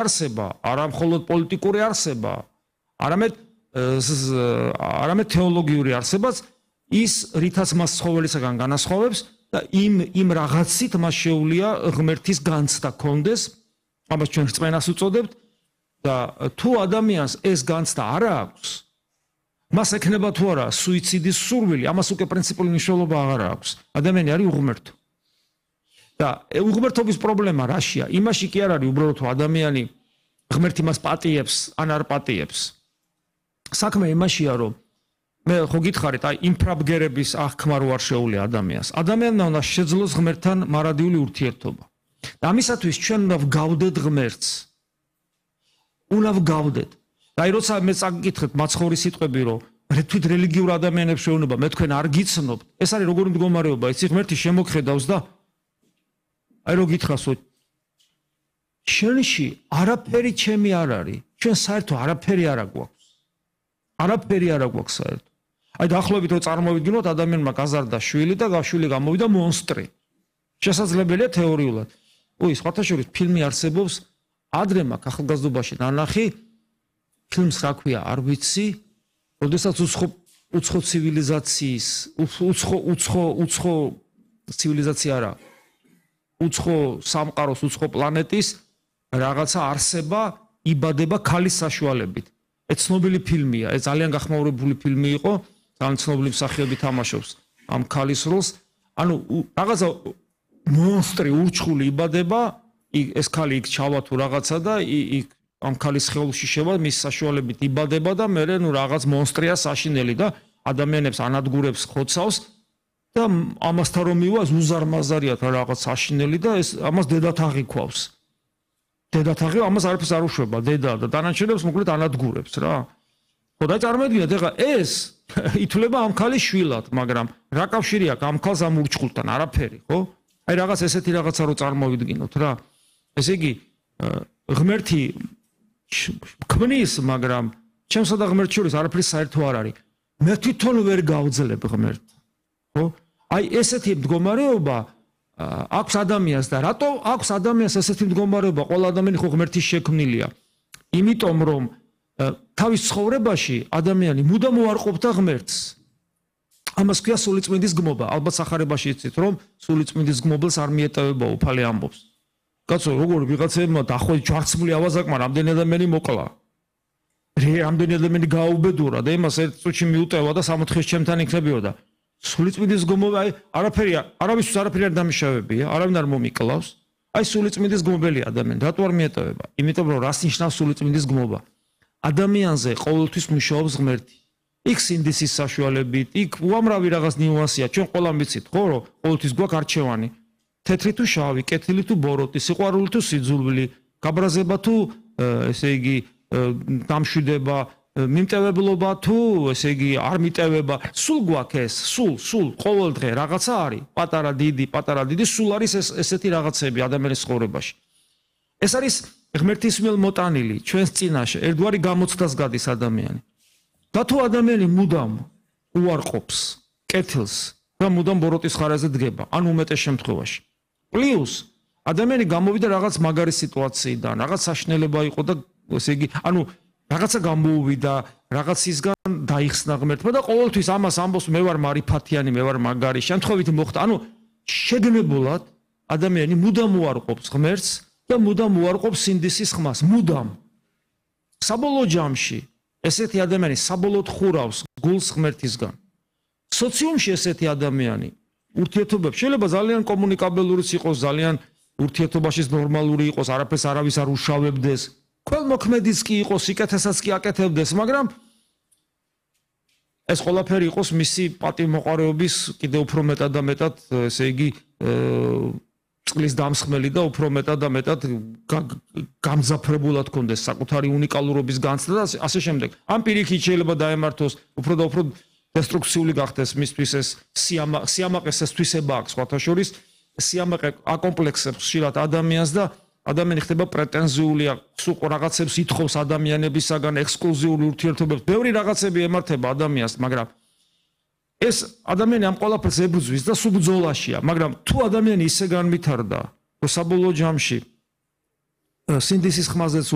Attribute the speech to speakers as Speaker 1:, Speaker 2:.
Speaker 1: არსება, არა მხოლოდ პოლიტიკური არსება, არამედ თეოლოგიური არსებაც ის რითაც მას ცხოველისაგან განასხვავებს და იმ რაღაცით მას შეუძლია ღმერთის განცდა კონდეს, ამას ჩვენ რწმენას უწოდებთ და თუ ადამიანს ეს განცდა არ აქვს, მას ექნება თუ არა სუიციდის სურვილი, ამას უკვე პრინციპული მნიშვნელობა აღარ აქვს. ადამიანი არის უღმერთო. და უღმერთობის პრობლემა რაშია? იმაში კი არ არის უბრალოდ თუ ადამიანი ღმერთი მას პატიებს ან არ პატიებს. საქმე იმაშია, რომ მე ხო გითხარით, აი იმფრაბგერების აღქმა რო არ შეუძლია ადამიანს. ადამიანმა უნდა შეძლოს ღმერთთან მარადიული ურთიერთობა. და ამისათვის ჩვენ უნდა ვგავდეთ ღმერთს. უნდა ვგავდეთ. და აი როცა მე წაგიკითხეთ მაცხოვრის სიტყვები, რომ თვით რელიგიურ ადამიანებს შეუნება, მე თქვენ არ გიცნობთ. ეს არის როგორი მდგომარეობა, იცი ღმერთი შემოგხედავს და აი რო გითხრასო შენში არაფერი ჩემი არ არის. ჩვენ საერთო არაფერი არ აქვს. არაფერი არ აქვს საერთო. აი დაახლოებით რომ წარმოვიდგინოთ ადამიანმა გაზარდა შვილი და შვილი გამოვიდა მონსტრი. შესაძლებელია თეორიულად. სხვათა შორის ფილმი არსებობს, ადრე მაქვს ახალგაზრდობაში ნანახი, ფილმს რა ქვია, არ ვიცი, როდესაც უცხო ცივილიზაციის, უცხო ცივილიზაცია არა, უცხო სამყაროს, უცხო პლანეტის რაღაცა არსება იბადება ქალის საშუალებით. ეს ცნობილი ფილმია, ეს ძალიან გახმაურებული ფილმი იყო, ძალიან ცნობილი მსახიობი თამაშობს ამ ქალის როლს. ანუ რაღაცა მონსტრი ურჩხული იბადება, ეს ქალი იქ ჩავა თუ რაღაცა და იქ ამ ქალის სხეულში შევა, მის საშუალებით იბადება და მე რაღაც მონსტრია საშინელი და ადამიანებს ანადგურებს, ხოცავს და ამასთან რომ მივა უზარმაზარია რაღაც საშინელი და ეს ამას დედათაღი ქვავს. დედათაღი ამას არაფერს არ უშვება, დედა და დანარჩენებს მოკლედ ანადგურებს რა. ხო და წარმოიდგინეთ, ეხლა ეს ითვლება ამ ქალის შვილად, მაგრამ რა კავშირი აქვს ამ ქალს ამ ურჩხულთან? არაფერი, ხო? აი რაღაც ესეთი რაღაცა რო წარმოვიდგინოთ რა. ესე იგი ღმერთი ქმნის, მაგრამ ჩემსა და ღმერთს შორის არაფერი საერთო არ არის. მე თვითონ ვერ გავძლებ ღმერთს. ხო? აი ესეთი მდგომარეობა აქვს ადამიანს და რატო აქვს ადამიანს ესეთი მდგომარეობა? ყველა ადამიანი ხო ღმერთის შექმნილია. იმიტომ რომ თავის ცხოვრებაში ადამიანი მუდამ უარყოფდა ღმერთს. ამას ქვია სულიწმინდის გმობა. ალბათ სახარებაში იცით რომ სულიწმინდის გმობელს არ მიეტევება უფალი ამბობს. კაცო, როგორ ვიღაცებმა დახვეწ ჯვარცმული ავაზაკმა რამდენი ადამიანი მოკლა. რამდენი ადამიანი გააუბედურა და იმას ერთ წუთში მიუტევა და 60 ჩემთან იქნებიოდა. სულიწმინდის გმობა, აი არაფერია, არავისთვის არაფერი არ დამიშავებია, არავინ არ მომიკლავს. აი სულიწმინდის გმობელი ადამიანი, რატო არ მიეტევება? იმიტომ რომ რას ნიშნავს სულიწმინდის გმობა? ადამიანზე ყოველთვის მუშაობს ღმერთი. იქ სინდისის საშუალებით, იქ უამრავი რაღაც ნიუანსია, ჩვენ ყველამ ვიცით, ხო, რომ ყოველთვის გვაქვს არჩევანი. თეთრი თუ შავი, კეთილი თუ ბოროტი, სიყვარული თუ სიძულვილი, გაბრაზება თუ ესე იგი დამშვიდება, მიმტევებლობა თუ ესე იგი არ მიტევება, სულ გვაქვს ეს, სულ ყოველ დღე რაღაცა არის, პატარა დიდი, სულ არის ესეთი რაღაცები ადამიანის ცხოვრებაში. ეს არის ღმერთის მიერ მოტანილი ჩვენს წინაშე, ერთგვარი გამოცდას გადის ადამიანი. და თუ ადამიანი მუდამ უარყოფს კეთილს და მუდამ ბოროტის ხარაზე დგება, ან უმეტეს შემთხვევაში. პლუს ადამიანი გამოვიდა რაღაც მაგარი სიტუაციიდან, რაღაც საშინელება იყო და ესე იგი, ანუ რაღაცა გამოუვიდა, რაღაცისგან დაიხსნა ღმერთმა და ყოველთვის ამას ამბობს მე ვარ მარიფათიანი, მე ვარ მაგარი, შემთხვევით მოხდა. ანუ შეგნებულად ადამიანი მუდამ უარყოფს ღმერთს და მუდამ უარყოფს სინდისის ხმას, მუდამ. საბოლოო ჯამში ესეთი ადამიანი საბოლოოდ ხურავს გულს ღმერთისგან. სოციუმში ესეთი ადამიანი ურთიერთობებს შეიძლება ძალიან კომუნიკაბელურიც იყოს, ძალიან ურთიერთობაშიც ნორმალური იყოს, არაფერს არავის არ უშავებდეს, ქველმოქმედიც კი იყოს, სიკეთესაც კი აკეთებდეს, მაგრამ ეს ყველაფერი იყოს მისი პატივმოყვარეობის კიდევ უფრო მეტად და მეტად, ესე იგი, წყლის დამსხმელი და უფრო მეტად და მეტად გამძაფრებულად კონდეს საკუთარი უნიკალურობის განცდა და ასე შემდეგ. ამ პირიქით შეიძლება დაემართოს უფრო და უფრო დესტრუქციული გახდეს მისთვის ეს სიამაყეს ეს თვისება აქვს სხვათა შორის. სიამაყე აკომპლექსებს ხშირად ადამიანს და ადამიანი ხდება პრეტენზიული, სულ რაღაცებს ითხოვს ადამიანებისაგან, ექსკლუზიური ურთიერთობებს, ბევრი რაღაცები ემართება ადამიანს, მაგრამ ეს ადამიანი ამ ყველაფერს ებრძვის და სულ ბრძოლაშია, მაგრამ თუ ადამიანი ისე განვითარდა, რომ საბოლოო ჯამში სინდისის ხმაზეც